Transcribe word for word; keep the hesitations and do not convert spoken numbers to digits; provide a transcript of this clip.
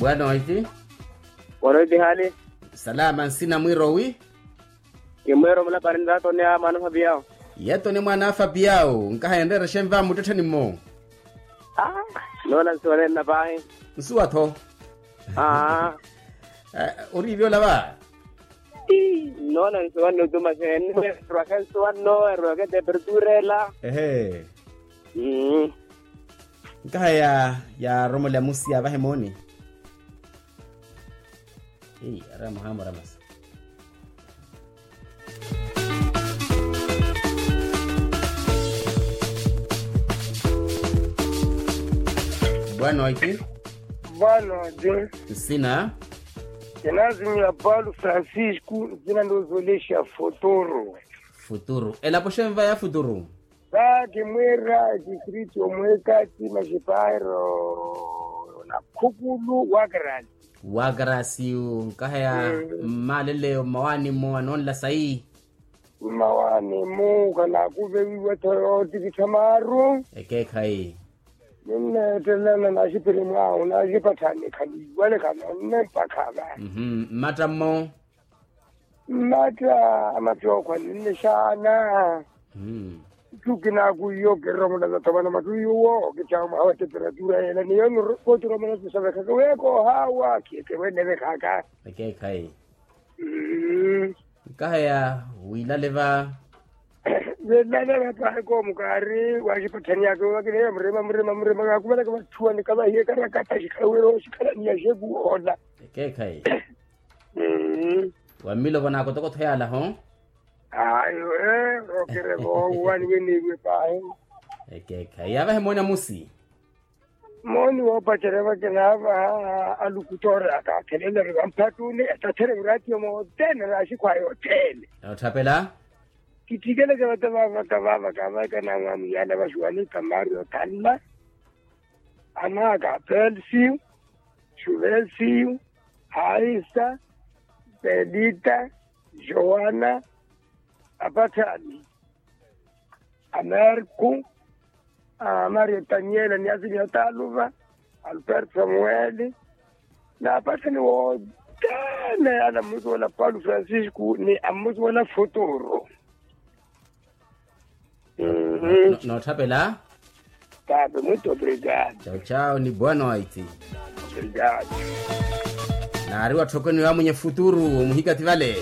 Boa noite. Boa noite hali. Salama, nsina mwirowi. Kimwero mulapani ntatone a mwana fabiao. Yetone mwana a fabiao nkaha enrerexe nva muttettheni mmo. Noona nsuwa nenna pahi. Nsuwa tho. Aa. Uriivi olava. Noona nsuwa nno tuma sene. Erwaka nsuwa nno erwaka temperatura ela. Ehe. Nkaha ya yaaromole amusi avahe mooni. Ei ara muhaamora masi. Boa noite. Boa noite. Nsina. Kinazimiya paulo francisco. Nsina ndoozolexa futuru. Futuru elapo xenva ya futuru. Sa kimwira distrito mwekati maxiparo na khukulu wakarani. Wakarasi nkaheya. Mmaleleyo mmawaani mmo anoonla sayi. Mmawaani mmo khanaakuvewiwa tho yootikittha maaru. Ekeekhayi. Ninneettelana naxiphiri mwahu naxipatthani khaniiwale khanoonne mpakha va. Mmatta mmo. Mmatta a mattookho aninne xaana. Ttukinaaku iyo kiromona zatho vano mattu iyo wo kitthawa mwaha wa temperatura yela ni yono kootiromona sisavekhaka weya koohaawa khiyeke wennevekhaka. Ekeekhayi. Nkaheya wiilale va. Wiilale va pahi koomukaari waxipatthani yaka wakineya murima murima murima kaakuvalaka vatthuwani kavahiye karakata xikhala wira oxikhalaniya xekuwoona. Ekeekhayi. Wa mmilovo naakotokotho yaala ho. Ayo ee okere voowa niweniiwe pahi. Ekeekhayi yaavahe mooni amusi. Mooni woopacerya vakinaava alukutoori akaakhelelari vamphattuni etathere muraatiyo moothene naaxikhwaya othene. Ootthapela. Kittikeleke vata vaavaka vaavaka vaavaka naamwamwiyana vaxiwani kamaari othanna. Anaaka apelsiyu, xuvelsiyu, haisa, pelita, joana, apathani, amerku, amaria taniela ni azilia taluva, alberto samueli, na apathani wothene ana mmusi wala paulo francisco ni ammusi wala futuru. Nootthapela. Tape muito obrigado. Chau chau ni boa noite. Obrigado. Naari watthokoniwa amwenye futuru omuhikati vale.